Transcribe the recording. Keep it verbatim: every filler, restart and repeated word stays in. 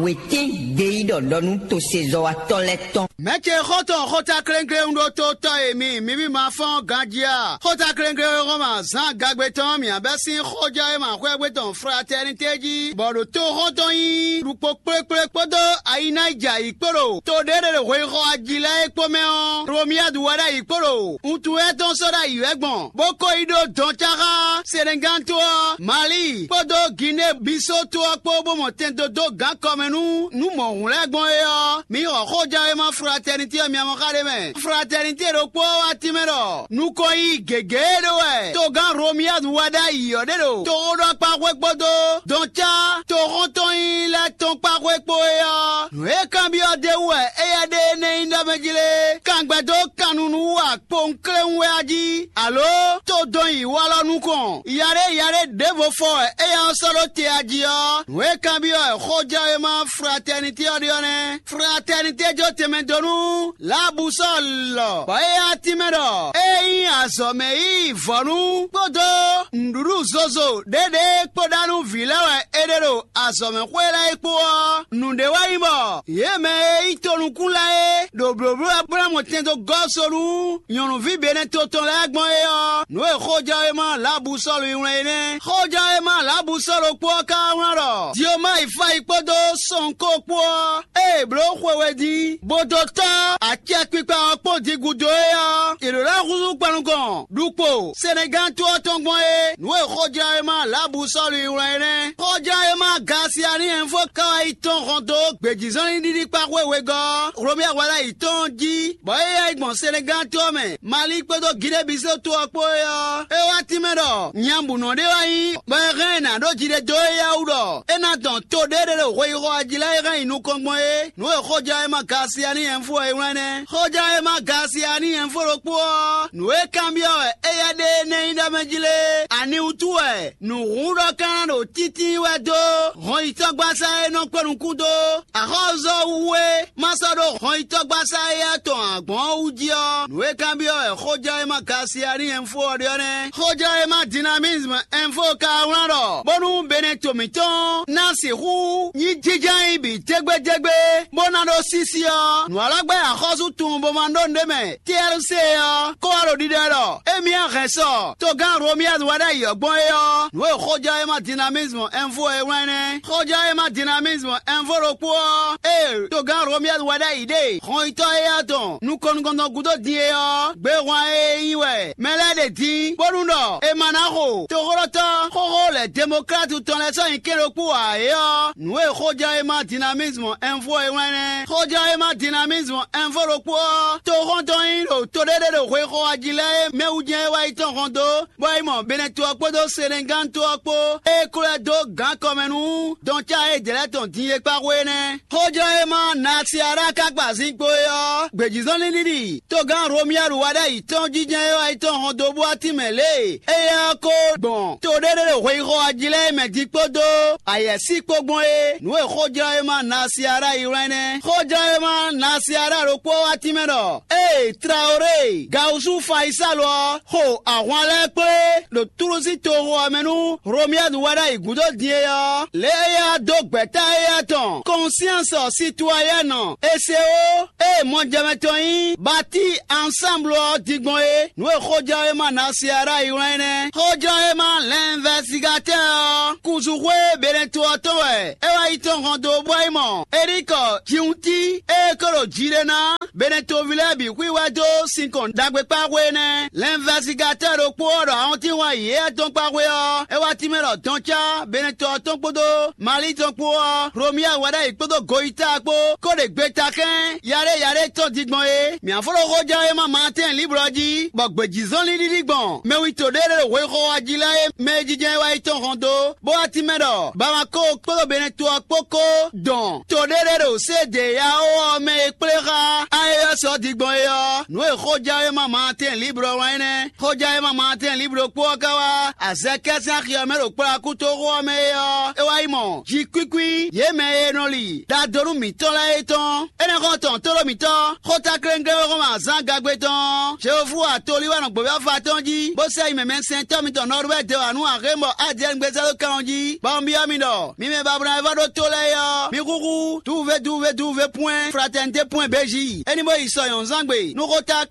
Wětín gbeyíɖɔ ɖɔ nú tosezɔ́watɔ́ lɛ́ɛ tɔn. Mɛ̌ ce xɔ́ntɔn xóta kléŋkléŋ ɖó tó tɔ́ e mi, mi ví ma fɔ́n ganjí a? Xóta kléŋkléŋ e hɔn ma zǎn gagbe tɔn mǐ abɛ́ sín xɔjɔ́ e ma xwɛ́gbé tɔn fratɛ́nitɛ́ jí, bɔ ɖo tó xɔ́ntɔn nyí ɖukpó kplékplé kpódó ayináyijɛ ayǐ kpó ɖo to ɖé ɖé ɖo hweyixɔ ají lɛ́ɛ é kpó mɛ ɔ́, Romiyadu wɛ ɖ'ayǐ kpó ɖo wuntun étɔn sɔ́ ɖ'ayǐ wɛ gbɔn, bó ko yi ɖó dɔn cá xá Senegántɔ́ ɔ́, Mali kpódó Ginée Bisó to ɔ́ kpó bó mɔ tɛn dó dó gǎn kɔ mɛ nú nǔ mɔ̌hun lɛ́ɛ gbɔn é ɔ́, mi xɔ xójɛwéma fratɛnitɛ́ ɔ́ mia mɔ xá ɖé mɛ. Fratɛnitɛ́ ɖokpó ɔ́ wá tínmɛ ɖɔ nukɔn yi gěgé e ɖó wɛ togán Romiyadu wá ɖ'ayǐ ɔ́ ɖe ɖo toxóɖɔkpáxwé kpódó dɔncá toxɔ́ntɔn nyí lɛ́ɛ tɔn kpáxwé kpó é ɔ́, nǔ e kanbyɔ́ d'é wú wɛ éyɛ́ ɖe énɛ́ nyí ɖɔ mɛ jí lé? Kangbɛdó kannunu wú akpowunkléwún wɛ a jí, alǒ tó dɔn yi walɔ nukɔn? Yaɖé yaɖé ɖěvo fɔ wɛ éyɛ́ ɔ́ sɔ́ ɖó te a jí ɔ́, nǔ e kanbyɔ́ wɛ xójɛwéma fratɛnitɛ́ ɔ́ ɖe ɔ́ nɛ́. Fratɛnitɛ́ jó tɛnmɛ dó nú Labusɔ́ɔlɔ, bɔ é yá tínmɛ ɖɔ é nyí azɔ̌ mɛ yí vɔ̌nu kpódó nǔɖuɖu zozo ɖěɖě kpó ɖa nú vǐ lɛ́ɛ wɛ é ɖe ɖo azɔ̌mɛxwé lɛ́ɛ é kpó ɔ́, nǔɖé wɛ nyí bɔ yě mɛ e nyí tonukún lɛ́ɛ é ɖo blǒbló wɛ bó ná mɔ tɛn dó gɔ́ so nú nyɔ̌nuví Benɛto tɔn lɛ́ɛ gbɔn é ɔ́, nǔ e xójɛwéma Labusɔ́lu yi wlán é nɛ́. Xójɛwéma Labusɔ́lu kpó ɔ́ ka wá wlán ɖɔ Diomai fá yi kpódó Sɔnkó kpó ɔ́, ée è blǒ xwe we din, bó dó tɔ́ acɛkpikpa ɔ́ kpó din gúdo é ɔ́, è ɖǒ ná húzú kpan nukɔn ɖukpo Senegántɔ́ ɔ́ tɔn gbɔn é. Nǔ e xójlawéma Labusɔ́lu yi wlán é nɛ́. Xójlawéma Gasiani Ɛnfo ka wá yi tɔ́n hɔn dó gbějízɔ́nlin ɖiɖi kpá xwé wegɔ́ Hlomia wala yi tɔn jí, bɔ é yá yi gbɔn Senegántɔ́ ɔ́ mɛ, Mali kpódó Ginée-Bisó to ɔ́ kpó é ɔ́, é wá tínmɛ ɖɔ nyabǔnɔ ɖé wá nyí, bɔ è hɛn ɛ nǎ ɖó jiɖedó éyɛ́ wú ɖɔ é ná dɔn to ɖé ɖé ɖo hweyixɔ ɔ́ jí lɛ́ɛ é hɛn yi nukɔn gbɔn é. Nǔ e xójɛwéma Gasiani Ɛnfo ɔ́ é wlán nɛ́. Xójɛwéma Gasiani Ɛnfo ɖokpó ɔ́, nǔ e kanbyɔ́ wɛ éyɛ́ ɖe énɛ́ nyí ɖɔ mɛ jí lé? Ani wútu wɛ nǔhúnɖɔ ka ná ɖo tíntín wɛ dó hɔnyitɔ́gbasá e nɔ kpé nukún dó axɔ́zɔ́ wú é ma sɔ́ ɖó hɔnyitɔ́gbasá éyɛ́ tɔn ǎ gbɔn ɔ́ wú jí ɔ́, nǔ e kanbyɔ́ wɛ xójɛwéma Gasiani Ɛnfo ɔ́ ɖe ɔ́ nɛ́. Xójɛwéma Dinamisme Ɛnfo ka wlán ɖɔ bónú Benɛto mǐtɔn ná sixú nyí jínjɔ́n nyi bǐ dégbédégbé, bó ná ɖó sísí ɔ́, nǔ alɔgbɛ́ axɔ́sú tunwun bó ma ɖó nǔɖé mɛ T R C ɔ́ kó wá ɖo ɖiɖɔ ɖɔ émí hɛn sɔ togán Romiyaz wɛ ɖ'ayǐ ɔ́ gbɔn é ɔ́, nǔ e xójɛwéma Dinamisme Ɛnfo e wlán nɛ́. Xójɛwéma Dinamisme Ɛnfo ɖokpó ɔ́, ée togán Romiyaz wɛ ɖ'ayǐ ɖe hɔnyitɔ́ éyɛ́ tɔn nukɔn nukɔntɔn gúdo din é ɔ́, gbehwan e nyí wɛ mɛ lɛ́ɛ ɖe din, bónú ɖɔ è ma ná xo toxóɖɔtɔ́ xóxó lɛ̌ demokratu tɔn lɛ́ɛ sɔ́ nyi kɛ́n ɖokpó ǎ é ɔ́, nǔ e xójɛwéma Dinamisme Ɛnfo e wlán nɛ́. Xójɛwéma Dinamisme Ɛnfo ɖokpó ɔ́, toxɔ́ntɔn nyí ɖo to ɖé ɖé ɖo hwexɔ ají lɛ́ɛ e mɛ wú jɛ́n é wá yi tɔn hɔn dó, bɔ é mɔ Benɛto ɔ́ kpódó Senegántɔ́ ɔ́ kpó, é klɔ́ ɛ dó gǎn kɔmɛ nú dɔn cá e jlɛ̌ tɔn din e kpá xwé é nɛ́. Xójlɔ́ e ma Nasiara ka gba zinkpo é ɔ́, gbějízɔ́nlin ɖiɖi togán Romiyadu wá ɖ'ayǐ tɔn jínjɔ́n e wá yi tɔn hɔn dó bú atín mɛ lě e éyɛ́ ɔ́ ko gbɔn to ɖé ɖé ɖo hweyixɔ ají lɛ́ɛ mɛ din kpódó ayɛ̌sí kpó gbɔn é. Nǔ e xójlɔ́ e ma Nasiara yi wlán nɛ́. Xójlɔ́ e ma Nasiara ɖokpó wá tínmɛ ɖɔ: Ée Traoré Gawusu Fayisalu ɔ́ xo ahwan lɛ́ɛ kplé ɖo Túlusi toxo ɔ́ mɛ nú Romiyadu wá ɖ'ayǐ gúdo din é ɔ́, lě e é wá dó gbɛ̌ta éyɛ́ tɔn Kɔnsiansɔ Situwayɛ́nɔ Esewo e mɔjɛmɛ tɔn nyí Bati Ansámblu ɔ́ din gbɔn é. Nǔ e xójɛwéma Nasiara yi wlán é nɛ́. Xójɛwéma Lɛnvɛsigatɛ́ ɔ́, kuzuxwé Benɛto ɔ́ tɔn wɛ é wá yi tɔn hɔn dó bɔ é mɔ Erikɔ Jiwunti e ko ɖo jiɖe ná Benɛtoví lɛ́ɛ bǐ xwíwá dó sinkɔn ɖagbe kpá xwé nɛ́. Lɛnvɛsigatɛ́ ɖokpó ɔ́ ɖɔ awɔntín wá yě tɔn kpá xwé ɔ́, é wá tínmɛ ɖɔ dɔn cá Benɛto ɔ́ tɔn kpódó Mali tɔn kpó ɔ́, Romia wɛ ɖ'ayǐ kpódó Goyita kpó kó ɖe gbeta kɛ́n yaɖé yaɖé tɔn din gbɔn é. Mǐ afɔ́ ɖo xójɛwéma Maatɛ́n Liblɔ jí, bɔ gbějízɔ́nlin ɖiɖi gbɔn mɛwinto ɖé ɖé ɖo hwexɔ wá jí lɛ́ɛ e mɛ e jínjɔ́n é wá yi tɔn hɔn dó, bó wá tínmɛ ɖɔ Bamako kpódó Benɛto ɔ́ kpó kó dɔn to ɖé ɖé ɖo Sédeyao ɔ́ mɛ e kplé xá Eye ɔ́ sɔ́ din gbɔn é ɔ́, nǔ e xójɛwéma Maatɛ́n Liblɔ wlán é nɛ́. Xójɛwéma Maatɛ́n Liblɔ kpó ɔ́ ka wá azɛkɛ́ sín axi ɔ́ mɛ ɖo kplɔ́ akútoxo ɔ́ mɛ é ɔ́, é wá yi mɔ jǐkwíkwí yě mɛ e nɔ li ɖadónú mǐtɔn lɛ́ɛ é tɔn. Énɛ́ xɔ́n tɔn tóɖó mǐtɔn, xótákléŋglé e xɔ́n mɛ azǎn gagbe tɔn ɔ́, Jehofu atolí wɛ nɔ gbǒví afa tɔn jí, bó sɛ́ yi mɛmɛsɛntɔ́ mitɔn Nɔrubɛ́ dó wǎ nú axémbɔ Adiyɛ́ɛn gbézá ɖó kan ɔ́ jí, bɔ un byɔ́ mi ɖɔ: Mi mɛ babla e vɔ́ ɖó tó lɛ́ɛ é ɔ́, mi xúxú duve duve duve pwɛ́n fratɛnité pwɛ́n béjí. É ní bó yi sɔ nyɔ̌nuzángbe nú xóta